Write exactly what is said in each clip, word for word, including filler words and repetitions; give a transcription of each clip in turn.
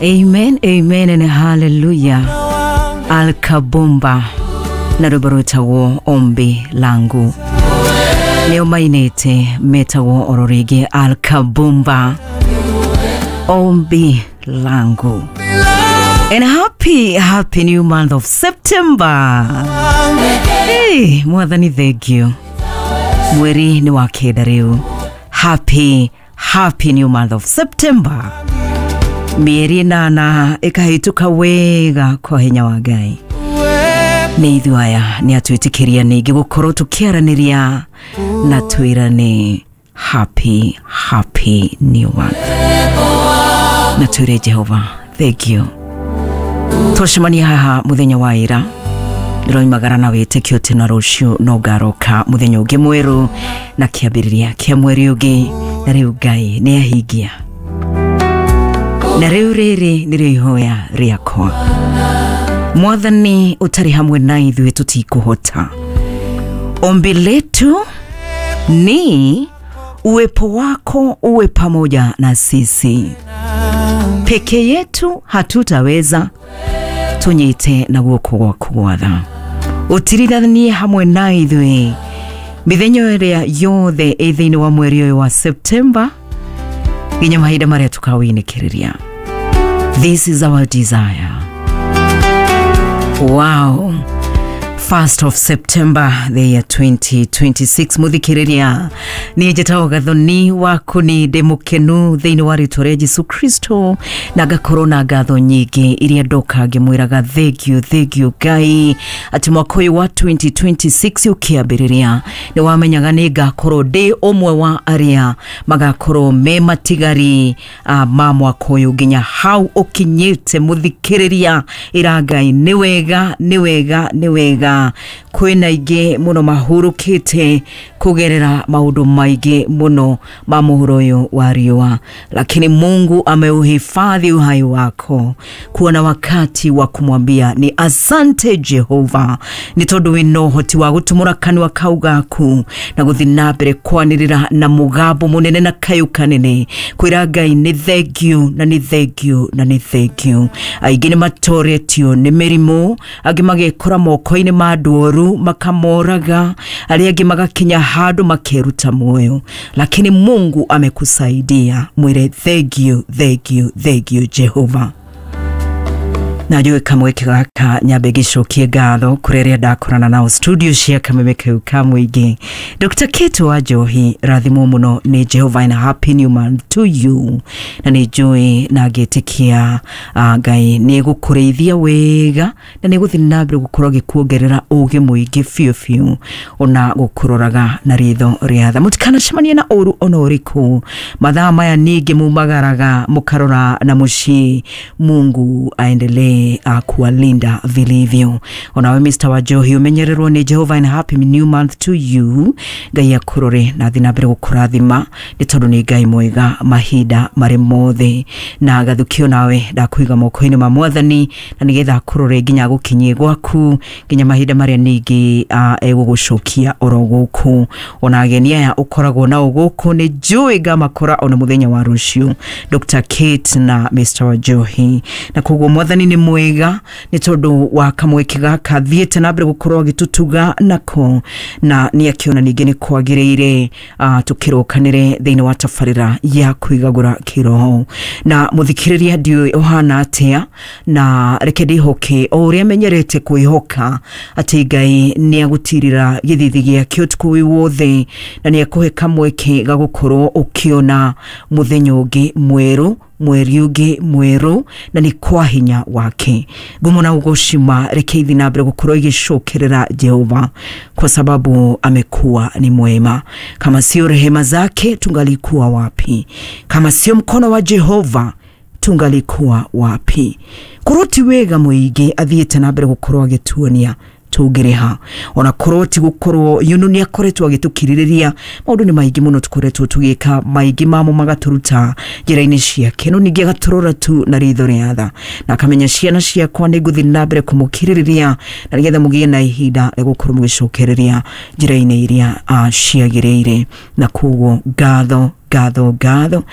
Amen, amen and hallelujah. Alkabomba na rwĩmbo rwĩtagwo Ombi Langu nĩo mainĩte metagwo oro rĩngĩ Alkabomba, Ombi Langu. And happy, happy new month of September. Hey, Mwathani, thank you. Mweri nĩ wa kenda rĩu. Happy, happy new month of September. Mĩeri ĩnana ĩkahĩtũka wega kwa hinya wa Ngai. Nĩ ithuĩ aya nĩ atwĩtĩkĩria ningĩ gũkorwo tũkĩaranĩria na twĩrane happy, happy new month. Na twĩre Jehova, thank you. Twacemania haha mũthenya wa ira, ndĩroimagara na wĩtĩkio atĩ na rũciũ no ngaroka mũthenya ũngĩ mwerũ na kĩambĩrĩria kĩa mweri ũngĩ, na rĩu Ngai nĩ ahingia. Na rĩu rĩrĩ nĩrĩo ihoya rĩakwa. Mwathani ũtarĩ hamwe na ithuĩ tũtikũhota. Ombi letu ni uwepo wako uwe pamoja na sisi. Peke yetu hatutaweza, tunyite na guoko gwaku gwatha. Ũtirithanie hamwe na ithuĩ mĩthenya ĩrĩa yothe ĩ thĩinĩ wa mweri ũyũ wa September nginya mahinda marĩa tukawinĩkĩrĩria. This is our desire. Wow. First of September the year twenty twenty-six. Muthikiriria ni njĩtagwo Gathoni waku, ni ndĩ mũkenu thĩinĩ wa rĩtwa rĩa Jesu Kristo na ngakorwo na ngatho nyingĩ iria ndoka ngĩmwĩraga thank you, thank you Ngai atĩ mwaka ũyũ wa twenty twenty-six ũkĩambĩrĩria nĩ wamenyaga nĩ ngakorwo ndĩ ũmwe wa arĩa magakorwo me matigari uh, ma mwaka ũyũ nginya hau ũkinyĩte. Mũthikĩrĩria, ĩra Ngai nĩ wega, nĩ wega, nĩ wega. Kwĩna aingĩ mũno mahurũkĩte kũgerera maũndũ maingĩ mũno ma mũhuro ũyũ wa riũa, lakini Mungu ameuhifadhi uhai wako kuwa na wakati wa kumwambia ni asante Jehova, nĩ tondũ wĩna ũhoti wa gũtumũra kanua kau gaku na gũthiĩ na mbere kwanĩrĩra na mũgambo mũnene na kayũ kanene kwĩra Ngai nĩ thank you na nĩ thank you na nĩ thank you. Aingĩ nĩ matoretio nĩ mĩrimũ, angĩ magekora moko-inĩ ma andũ oru makamoraga, arĩa angĩ magakinya handũ makeruta muoyo, lakini Mungu amekusaidia. Mwire thank you, thank you, thank you Jehova. Na njũĩ kamweke gaka nyambe ngĩcokie ngatho kũrĩ arĩa ndakorana nao studio cia Kameme kau ka mũingĩ. Doctor Kate wa Njohi, rathimwo mũno nĩ Jehova and happy new month to you. Na nĩ njũĩ na ngĩtĩkia uh, Ngai nĩ egũkũrĩithia wega na nĩ egũthiĩ na mbere gũkorwo agĩkuongerera ũgĩ mũingĩ biũ biũ, ona gũkũroraga na ritho rĩa tha. Mũtikanacemanie na ũru ona ũrĩkũ. Mathaa maya ningĩ mumagaraga mũkarora na mũciĩ. Mungu aendelee kuwalinda vilivyo. Onawe Mister Wajohi umenyererwo nĩ Jehova and happy new month to you. Ngai akurore na thiĩ na mbere gũkũrathima nĩ tondũ nĩ Ngai mwega mahinda marĩ mothe. Na gathukio nawe ndakũiga moko-inĩ ma Mwathani na nĩgetha akũrore nginya agũkinyie gwaku nginya mahinda marĩa ningĩ uh, egũgũcokia oro gũkũ. Ona ageni aya ũkoragwo nao gũkũ nĩ njũĩ ngamakora ona mũthenya wa rũciũ, Doctor Kate na Mister Wajohi. Na koguo Mwathani nĩ mwega nĩ tondũ wa kamweke gaka thiĩte na mbere gũkorwo agĩtũtuga nako, na nĩ akĩona ningĩ nĩ kwagĩrĩire uh, tũkĩrokanĩre thĩinĩ wa tabarĩra ya kwĩgagũra kĩroho. Na mũthikĩrĩria ndiũĩ ũhana atĩa, na reke ndĩhoke o ũrĩa menyerete kwĩhoka atĩ Ngai nĩ agũtirĩra gĩthithi gĩake ũtukũ wĩ wothe na nĩ akũhe kamweke ga gũkorwo ũkĩona mũthenya ũngĩ mwerũ, mweri ũngĩ mwerũ, na nĩ kwa hinya wake. Ngumo na ũgocima reke ithi na mbere gũkorwo igĩcokerera Jehova kwa sababu amekuwa ni mwema. Kama sio rehema zake tungalikuwa wapi? Kama sio mkono wa Jehova tungalikuwa wapi? Korwo ti wega mũingĩ athiĩte na mbere gũkorwo agĩtuonia tũngĩrĩha, ona korwo ti gũkorwo yunu nĩ akoretwo agĩtũkirĩrĩria maũndũ nĩ maingĩ mũno tũkoretwo tũgĩka, maingĩ mamo magatũruta njĩra-inĩ ciake, no ningĩ agatũrora tu na ritho rĩa tha na akamenya ciana ciakwa nĩ ngũthiĩ na mbere kũmũkirĩrĩria na nĩgetha mũgĩe na ihinda rĩa gũkorwo mũgĩcokereria njĩra-inĩ iria uh, ciagĩrĩire. Na koguo ngatho, ngatho, ngatho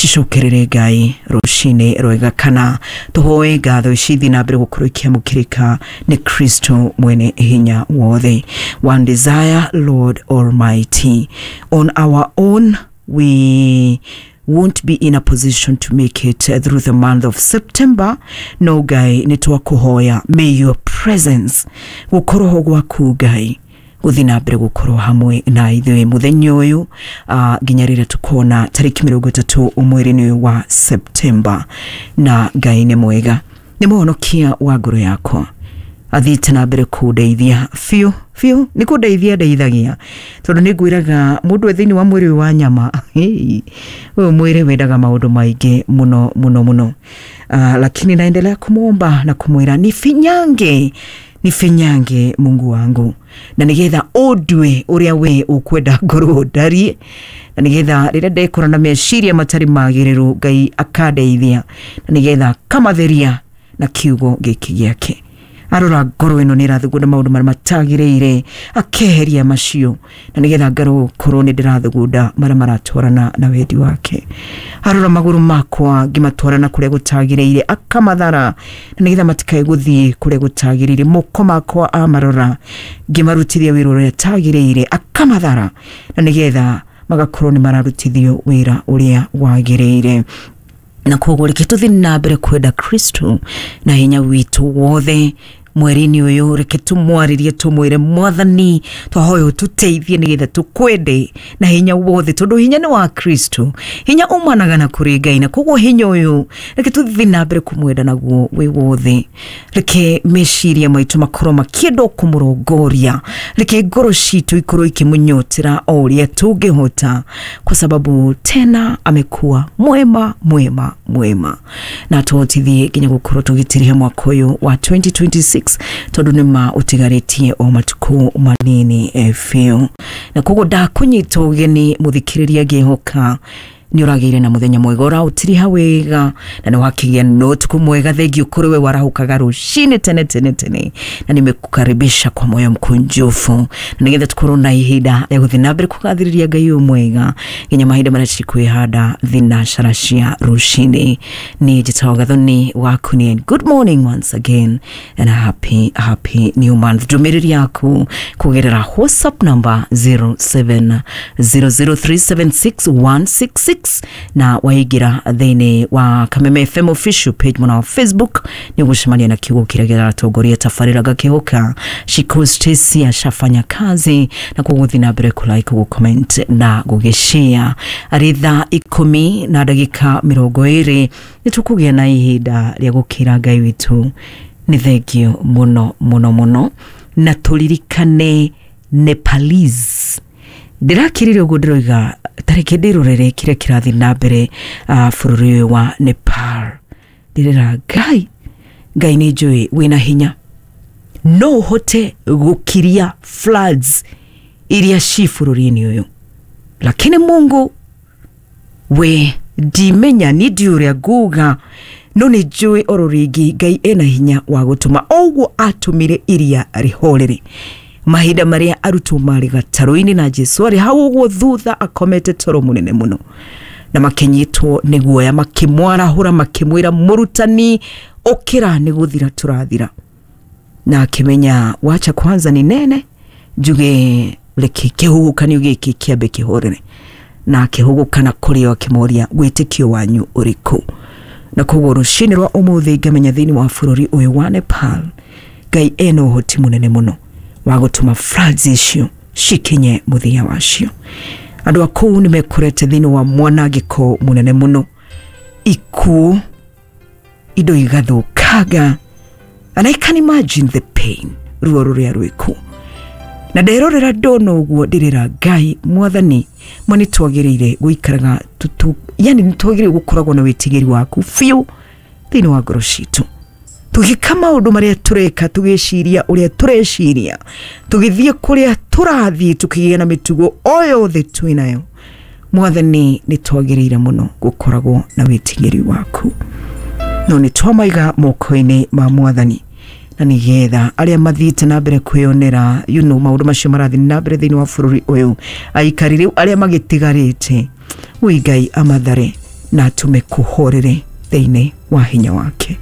Cicokerere Ngai rũcinĩ rwega, kana tũhoe ngatho ici ithiĩ na mbere gũkorwo ikĩamũkĩrĩka nĩ Kristo mwene hinya wothe. One desire, Lord Almighty. On our own we won't be in a position to make it through the month of September. No Ngai, nĩ twakũhoya, may your presence, gũkorwo gwaku Ngai, gũthiĩ na mbere gũkorwo hamwe na ithuĩ mũthenya ũyũ uh, nginya rĩrĩa tũkona tarĩki mĩrongo ĩtatũ mweri-inĩ ũyũ wa September. Na Ngai nĩ mwega, nĩ mũhonokia wa ngoro yakwa, athiĩte na mbere kũndeithia biũ biũ, nĩ kũndeithia ndeithagia, tondũ nĩ ngwĩraga mũndũ e thĩinĩ wa mwĩrĩ ũyũ wa nyama, ũyũ mwĩrĩ wendaga maũndũ maingĩ mũno mũno mũno. Uh, lakini naendelea kumwomba na kumwĩra nifinyange, nifinyange Mungu wangu, na nigetha ũndue ũrĩa we ũkwenda ngorwo ndarie, na nigetha rĩrĩa ndekora na meciria matarĩ magĩrĩru Ngai akandeithia, na nigetha akamatheria na kiugo gĩkĩ gĩake. Arora ngoro ĩno nĩ ĩrathugunda maũndũ marĩa matagĩrĩire, akeheria macio, na nĩgetha ngarwo korwo nĩ ndĩrathugunda marĩa maratwarana na wendi wake. Arora magũrũ makwa ngĩmatwarana kũrĩa gũtagĩrĩire, akamathara, na nĩgetha matikae gũthiĩ kũrĩa gũtagĩrĩire. Moko makwa amarora ngĩmarutithia wĩra ũrĩa tagĩrĩire, akamathara, na nĩgetha magakorwo nĩ mararutithio wĩra ũrĩa wagĩrĩire. Na koguo reke tũthiĩ na mbere kwenda Kristo na hinya witũ wothe mweri-inĩ ũyũ. Reke tũmwarĩrie, tũmwĩre Mwathani twahoya ũtũteithie nĩgetha tũkwende na hinya wothe, tondũ hinya nĩ wa Kristo, hinya umanaga na kũrĩ Ngai, na koguo hinya ũyũ reke tũthiĩ na mbere kũmwenda naguo wĩ wothe. Reke meciria maitũ makorwo makĩenda kũmũrongoria, reke ngoro citũ ikorwo ikĩmũnyotera o ũrĩa tũngĩhota, kwa sababu tena amekuwa mwema mwema mwema, na tũhotithie nginya gũkorwo tũgĩtiriha mwaka ũyũ wa twenty twenty-six, tondũ nĩ ma ũtigarĩtie o matukũ manini biũ. Na koguo ndakũnyita ũgeni mũthikĩrĩria, ngĩhoka nĩ ũragĩire na mũthenya mwega, ũraũtiriha wega, na nĩ wakĩgĩa na ũtukũ mwega. Thengiũ kũrĩ we warahũkaga rũcinĩ tene tene tene, na nimekukaribisha kwa moyo mkunjufu, na nĩgetha tũkorwo na ihinda rĩa gũthiĩ na mbere kũgathĩrĩria Ngai ũyũ mwega nginya mahinda marĩa cikwĩhanda thinacara cia rũcinĩ. Niĩ njĩtagwo Gathoni waku ni, good morning once again and a happy happy new month. Ndũmĩrĩri yaku kũgerera WhatsApp number zero seven zero zero three seven six one six six, na waingĩra thĩinĩ wa Kameme F M official page mwena wa Facebook nĩ ũgũcemania na kiugo kĩrĩa kĩratongoria tabarĩra gakĩhoka Shiko Stacy ashafanya kazi, na kũgũthiĩ na mbere kũ like, gũ comment na gũgĩshare. Arĩ thaa ikũmi na ndagĩka mĩrongo ĩrĩ nĩ tũkũgĩa na ihinda rĩa gũkĩra Ngai witũ nĩ thengio mũno mũno mũno, na tũririkane Nepalese. Ndĩrakĩrire ũguo ndĩroiga tareke ndĩrorere kĩrĩa kĩrathiĩ na mbere uh, bũrũri ũyũ wa Nepal. Ndĩrera Ngai, Ngai nĩ njũĩ wĩna hinya, no ũhote gũkiria floods iria ci bũrũri-inĩ ũyũ, lakini Mungu we ndimenya ni ndiũ ũrĩa nguga, no nĩ njũĩ oro rĩngĩ Ngai ena hinya wa gũtũma ũguo atũmire iria rĩhorere mahinda marĩa arutwo marĩ gatarũ-inĩ na Jesu arĩ hau ũguo thutha akomete toro mũnene mũno, na makĩnyitwo nĩ guoya, makĩmwarahũra, makĩmwĩra mũrutani ũkĩra, nĩ gũthira tũrathira. Na akĩmenya wacha kwanza ni nene njuge reke kĩhuhũkanio gĩkĩ kĩambe kĩhorere, na akĩhũgũkana kũrĩ o akĩmoria wĩtĩkio wanyu ũrĩkũ. Na koguo rũcinĩ rwa ũmũthĩ ngamenya thĩinĩ wa bũrũri ũyũ wa Nepal Ngai ena ũhoti mũnene mũno wa gũtũma floods icio cikinye mũthia wacio. Andũ a kũu nĩ mekorete thĩinĩ wa mwanangĩko mũnene mũno, ikuũ, indo igathũkanga, and I can imagine the pain, ruo rũrĩa rwĩ kũu. Na nderorera ndona ũguo ndĩrera Ngai Mwathani, ma nĩ twagĩrĩire gũikaraga tutu, yani nĩ twagĩrĩire gũkoragwo na wĩtigĩri waku biũ thĩinĩ wa ngoro citũ, tũgĩka maũndũ marĩa tũreka, tũgĩciria ũrĩa tũreciria, tũgĩthiĩ kũrĩa tũrathiĩ, tũkĩgĩa na mĩtugo o yothe twĩnayo. Mwathani nĩ twagĩrĩire mũno gũkoragwo na wĩtigĩri waku, no nĩ twamaiga moko-inĩ ma Mwathani, na nĩgetha arĩa mathiĩte na mbere kwĩyonera you know, maũndũ macio marathiĩ na mbere thĩinĩ wa bũrũri ũyũ, aikari rĩu arĩa magĩtigarĩte, ui Ngai amathare na atũme kũhorere thĩinĩ wa hinya wake.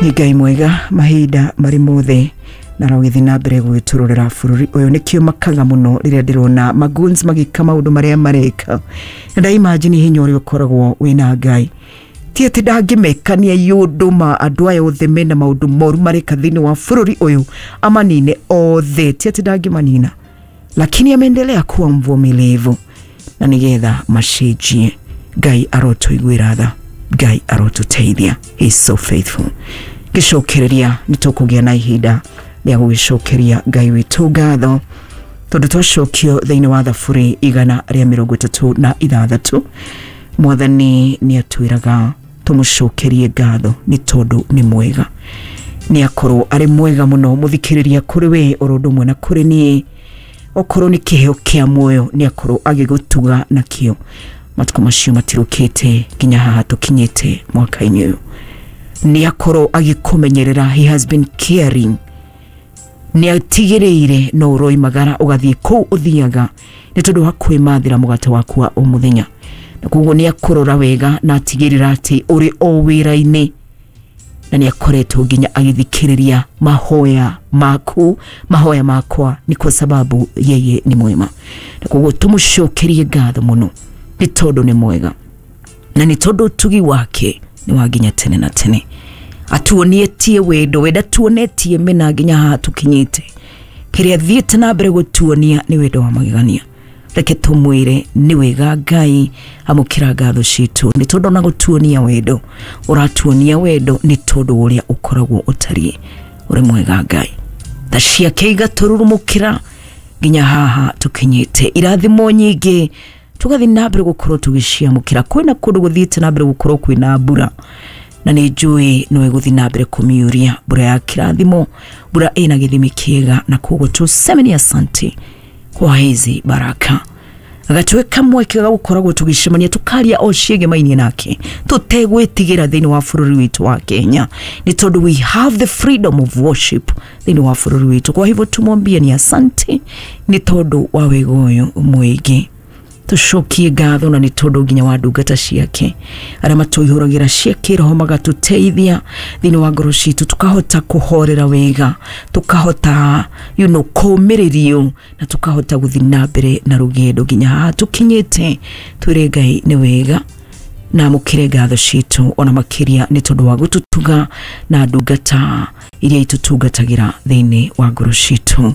Nĩ Ngai mwega mahinda marĩ mothe, na arogĩthiĩ na mbere gwĩtũrũrĩra bũrũri ũyũ. Nĩkĩo makaga mũno rĩrĩa ndĩrona magoons magĩka maũndũ marĩa mareka, na ndaimagine hinya ũrĩa ũkoragwo wĩna Ngai. Ti atĩ ndangĩmekania yũndũ ma andũ aya othe mena maũndũ moru mareka thĩinĩ wa bũrũri ũyũ amanine othe, ti atĩ ndangĩmanina, lakini ameendelea kuwa mvumilivu na nĩgetha macenjie. Ngai arotũiguĩra tha, Ngai arotũteithia. He is so faithful. Gĩcokereria nĩ tũkũgĩa na ihinda rĩa gũgĩcokeria Ngai witũ ngatho, tondũ twacokio thĩinĩ wa thaburi igana rĩa mĩrongo ĩtatũ na ithathatũ, Mwathani nĩ atwĩraga tũmũcokerie ngatho nĩ tondũ nĩ mwega. Nĩ akorwo arĩ mwega mũno mũthikĩrĩria kũrĩ we oro ũndũ ũmwe na kũrĩ niĩ. Okorwo nĩ kĩheo kĩa muoyo nĩ akorwo agĩgũtuga nakĩo. Matukũ macio matirũkĩte nginya haha tũkinyĩte mwaka-inĩ ũyũ. Nĩ akorwo agĩkũmenyerera, he has been caring. Nĩ atigĩrĩire no ũroimagara ũgathiĩ kũu ũthiaga nĩ tondũ wa kwĩmathĩra mũgate waku wa o mũthenya, na koguo nĩ akũrora wega na atigĩrĩra atĩ ũrĩ o wĩra-inĩ, na nĩ akoretwo nginya agĩthikĩrĩria mahoya maku, mahoya makwa, ni kwa sababu yeye ni mwema. Na koguo tũmũcokerie ngatho mũno nĩ tondũ nĩ mwega, na nĩ tondũ ũtugi wake nĩ wa nginya tene na tene. Atuonietie wendo, wenda tuonetie mena nginya haha tũkinyĩte. Kĩrĩa thiĩte na mbere gũtuonia nĩ wendo wa magegania. Reke tũmwĩre nĩ wega Ngai, amũkĩra ngatho citũ nĩ tondũ ona gũtuonia wendo, ũratuonia wendo nĩ tondũ ũrĩa ũkoragwo ũtariĩ. Ũrĩ mwega Ngai. Tha ciake igatũrurumũkĩra nginya haha tũkinyĩte. Irathimo nyingĩ tũgathiĩ na mbere gũkorwo tũgĩciamũkĩra. Kwĩna kũndũ gũthiĩte na mbere gũkorwo kwĩna mbura, na nĩ njũĩ no ĩgũthiĩ na mbere kũmiuria mbura ya kĩrathimo, mbura ĩna gĩthimi kĩega, na koguo tuseme ni asante kwa hizi baraka. Agatwe kamwe kega gũkoragwo tũgĩcemania tũkaria o ciĩgemainie nake tũtegwĩtigĩra thĩinĩ wa bũrũri witũ wa Kenya, nĩ tondũ we have the freedom of worship thĩinĩ wa bũrũri witũ. Kwa hivyo tumwambie ni asante nĩ tondũ wa wega ũyũ mũingĩ. Tũcokie ngatho na nĩ tondũ nginya wa ndungata ciake arĩa matũihũragĩra cia kĩroho magatũteithia thĩinĩ wa ngoro citũ, tũkahota kũhorera wega, tũkahota you know, kũũmĩrĩrio, na tũkahota gũthiĩ na mbere na rũgendo nginya haha tũkinyĩte. Twĩre Ngai nĩ wega na amũkĩre ngatho citũ ona makĩria nĩ tondũ wa gũtũtuga na ndungata iria itũtungatagĩra thĩinĩ wa ngoro citũ,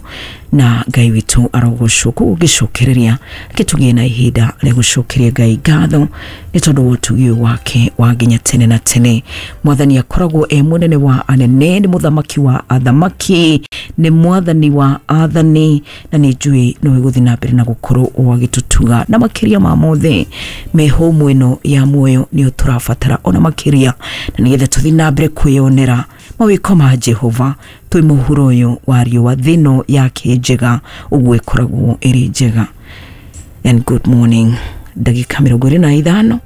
na Ngai witũ arogocwo. Koguo ngĩcokereria reke tũgĩe na ihinda rĩa gũcokeria Ngai ngatho nĩ tondũ wa ũtugi ũyũ wake wa nginya tene na tene. Mwathani akoragwo e mũnene wa anene, nĩ mũthamaki wa athamaki, nĩ mwathani wa athani, na nĩ njũĩ no ĩgũthiĩ na mbere na gũkorwo o agĩtũtuga, na makĩria ma mothe mĩhũmũ ĩno ya muoyo nĩyo tũrabatara ona makĩria, na nĩgetha tũthiĩ na mbere kwĩyonera mawĩko ma Jehova twĩ mũhuro ũyũ wa riũa, thĩ ĩno yake njega ũguo ĩkoragwo ĩrĩ njega. And good morning. Ndagĩka mĩrongo ĩrĩ na ithano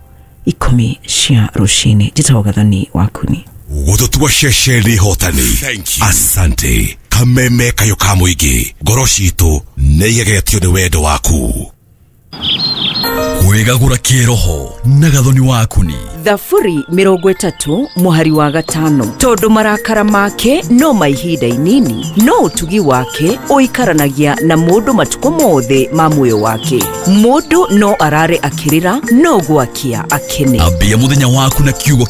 ikũmi cia rũcinĩ. Njĩtagwo Gathoni Wakuni. Gũtũtua ceceni hotani. Asante. Kameme kayo ka mũingĩ, ngoro citũ nĩ igegetio nĩ wendo waku. Wĩgagũra kĩroho na Gathoni Wakuni. Thaburi mĩrongo ĩtatũ mũhari wa gatano. Tondũ marakara make no ma ihinda inini, no ũtugi wake ũikaranagia na mũndũ matukũ mothe ma muoyo wake. Mũndũ no arare akĩrĩra, no gwakia akene. Ambia mũthenya waku na kiugo